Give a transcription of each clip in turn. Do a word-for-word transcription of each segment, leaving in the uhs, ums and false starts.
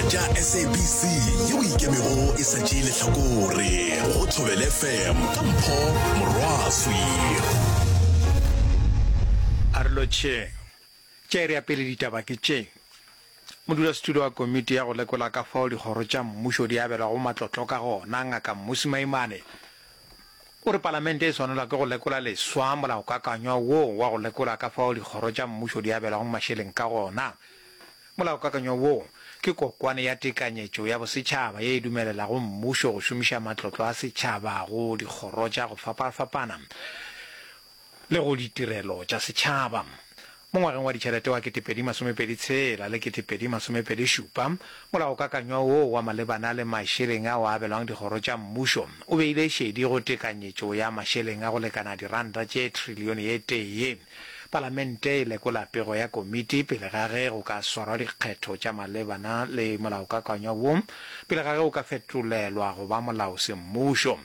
tša S A B C yeo ikemego e sa tšee lehlakore go Thobela F M ka Mpho Morwaswi. A re lotšheng. Tša iri ya pele ditaba ke tše. Modulasetulo wa komiti ya go lekola ka fao dikgoro tša mmušo di abelwago matlotlo ka gona, Ngaka Mmusi Maimane, o re palamente e swanelwa ke go lekola leswa molaokakanywa woo wa go lekola ka fao dikgoro tša mmušo di abelwago mašeleng ka gona. Molaokakanywa woo ke kokwane ya tekanyetšo ya bosetšhaba ye e dumelelago mmušo go šomiša matlotlo a setšhaba go dikgoro tša go fapafapana le go ditirelo tša setšhaba. Mo ngwageng wa ditšhelete wa ketepedi masomepedi tshela le ketepedi masomepedi šupa, molaokakanywa woo wa malebana le mašeleng ao a abelwang dikgoro tša mmušo o beile šedi go tekanyetšo ya mašeleng a go lekana diranta tše trilione ye tee. Palamente e lekola pego ya komiti pele ga ge go ka swarwa dikgetho tša malebana le molaokakanywa wo pele ga ge o ka fetolelwa go ba molao semmušo.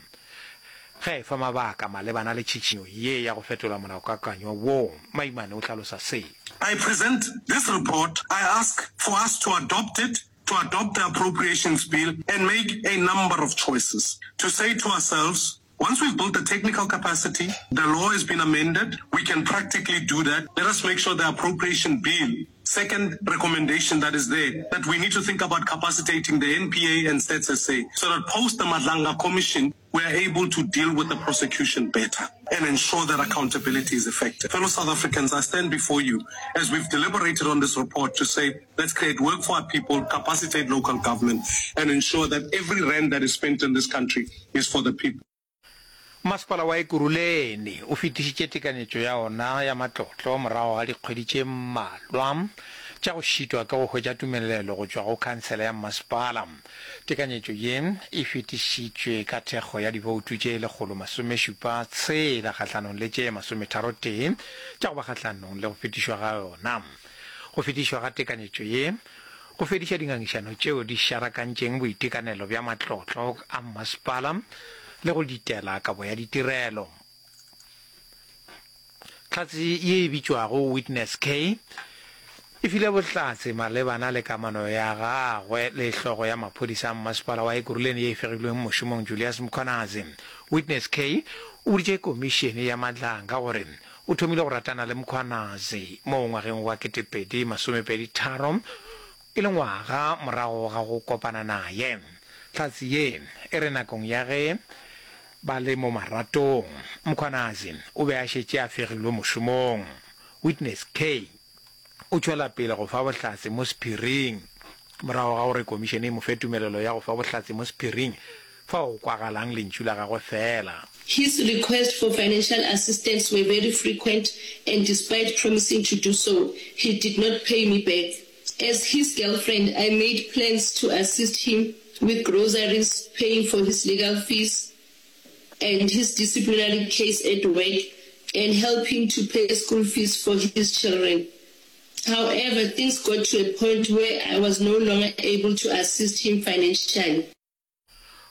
Ge a efa mabaka malebana le tšhišinyo ye ya go fetola molaokakanywa wo, Maimane o hlalosa se. I present this report. I ask for us to adopt it, to adopt the Appropriations Bill and make a number of choices. To say to ourselves, once we've built the technical capacity, the law has been amended, we can practically do that. Let us make sure the Appropriation Bill, second recommendation that is there, that we need to think about capacitating the N P A and Stats S A so that post the Madlanga Commission, we are able to deal with the prosecution better and ensure that accountability is effective. Fellow South Africans, I stand before you as we've deliberated on this report to say, let's create work for our people, capacitate local government, and ensure that every rand that is spent in this country is for the people. Masepala wa Ekurhuleni o fetišitše tekanyetšo ya ona ya matlotlo morago ga dikgwedi tše mmalwa tša go šitwa ke go hwetša tumelelo go tšwa go khansele ya mmasepala. Tekanyetšo ye e fetišitšwe ka thekgo ya diboutu tše lekgolo masomešupa tshela kgahlanong le tše masometharo tee tša go ba kgahlanong le go fetišwa ga yona. Go fetišwa ga tekanyetšo ye go fediša dingangišano tšeo di šarakantšeng boitekanelo bja matlotlo a mmasepala le go ditela kabo ya ditirelo. Hlatse ye e bitšwago Witness K e file bohlatse malebana le kamano ya gagwe le hlogo ya maphodisa a mmasepala wa Ekurhuleni ye e fegilweng mošomong Julius Mkhwanazi. Witness K o boditše komišene ya Madlanga gore o thomile go ratana le Mkhwanazi mo ngwageng wa ketepedi masomepedi tharo e le ngwaga morago ga go kopana naye. Hlatse ye e re nakong ya ge ba le mo maratong, Mkhwanazi o be a šetše a fegilwe mošomong. Witness K o tšwela pele go fa bohlatse mo sephiring morago ga gore komišene e mo fe tumelelo ya go fa bohlatse mo sephiring fao go kwagalang lentšu la gagwe fela. His requests for financial assistance were very frequent and despite promising to do so, he did not pay me back. As his girlfriend, I made plans to assist him with groceries, paying for his legal fees and his disciplinary case at work, and helping to pay school fees for his children. However, things got to a point where I was no longer able to assist him financially.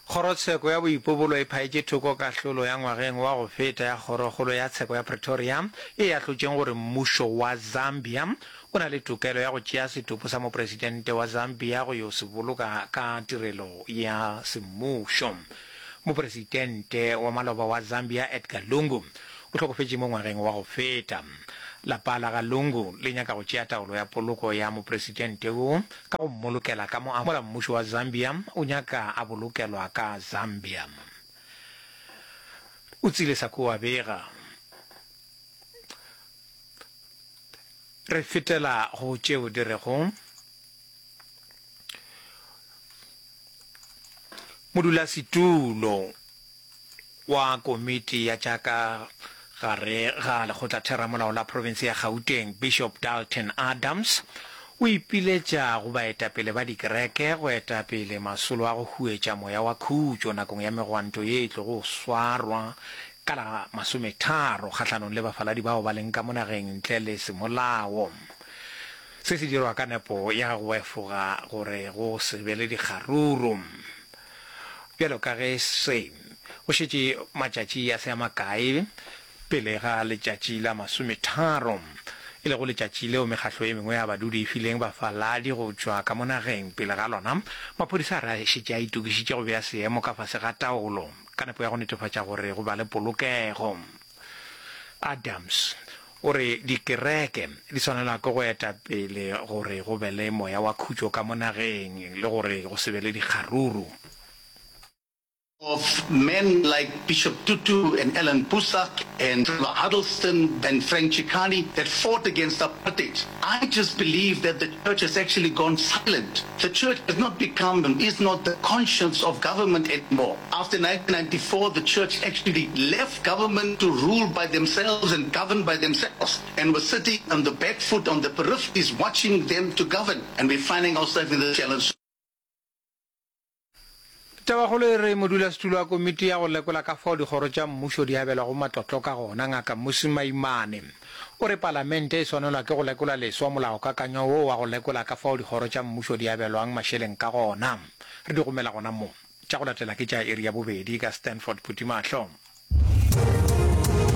Kgorotsheko ya Boipobolo e phaetše thoko kahlolo ya ngwageng wa go feta ya Kgorokgolo ya Tsheko ya Pretoria ye e ahlotšeng gore mmušo wa Zambia o na le tokelo ya go tšea setopo sa mopresidente wa Zambia go yo se boloka ka tirelo ya semmušo. Mopresidente wa maloba wa Zambia Edgar Lungu o hlokofetše mo ngwageng wa go feta. Lapa la ga Lungu le nyaka go tšea taolo ya poloko ya mopresidente wo ka go mmolokela ka mo mola mmušo wa Zambia o nyaka a bolokelwa ka Zambia. O tsile sa ko wa bega. Re fetela go tšeo di rego Modulasetulo wa komiti ya tša ka gare ga lekgotlatheramolao la profense ya Gauteng, Bishop Dalton Adams, o ipiletša go baetapele ba dikereke go eta pele masolo a go huetša moya wa khutšo nakong ya megwanto ye e tlogo swarwa ka la masometharo kgahlanong le bafaladi bao ba leng ka mo nageng ntle le semolao. Se se dirwa ka nepo ya go efoga gore go se be le dikgaruru. Bjalo ka ge se go šetše matšatši a se a makae pele ga letšatši la masometharo, e lego letšatši leo mekgahlo e mengwe ya badudi e fileng bafaladi go tšwa ka mo nageng. Pele ga lona, maphodisa a re a šetše a itokišitše go bea seemo ka fase ga taolo ka nepo ya go netefatša gore go ba le polokego. Adams o re dikereke di swanelwa ke go eta pele gore go be le moya wa khutšo ka mo nageng le gore go se be le dikgaruru. Of men like Bishop Tutu and Alan Boesak and Trevor Huddleston and Frank Chikane that fought against apartheid. I just believe that the church has actually gone silent. The church has not become and is not the conscience of government anymore. After nineteen ninety-four, the church actually left government to rule by themselves and govern by themselves, and were sitting on the back foot on the peripheries watching them to govern. And we're finding ourselves in the challenge. Tabakgolo e re modulasetulo wa komiti ya go lekola ka fao dikgoro tša mmušo di abelwago matlotlo ka gona, Ngaka Mmusi Maimane, o re palamente e swanelwa ke go lekola leswa molaokakanywa wo wa go lekola ka fao dikgoro tša mmušo di abelwang mašeleng ka gona. Re di gomela gona mo. Tša go latela ke tša iri ya bobedi ka Stanford Phuthimahlo.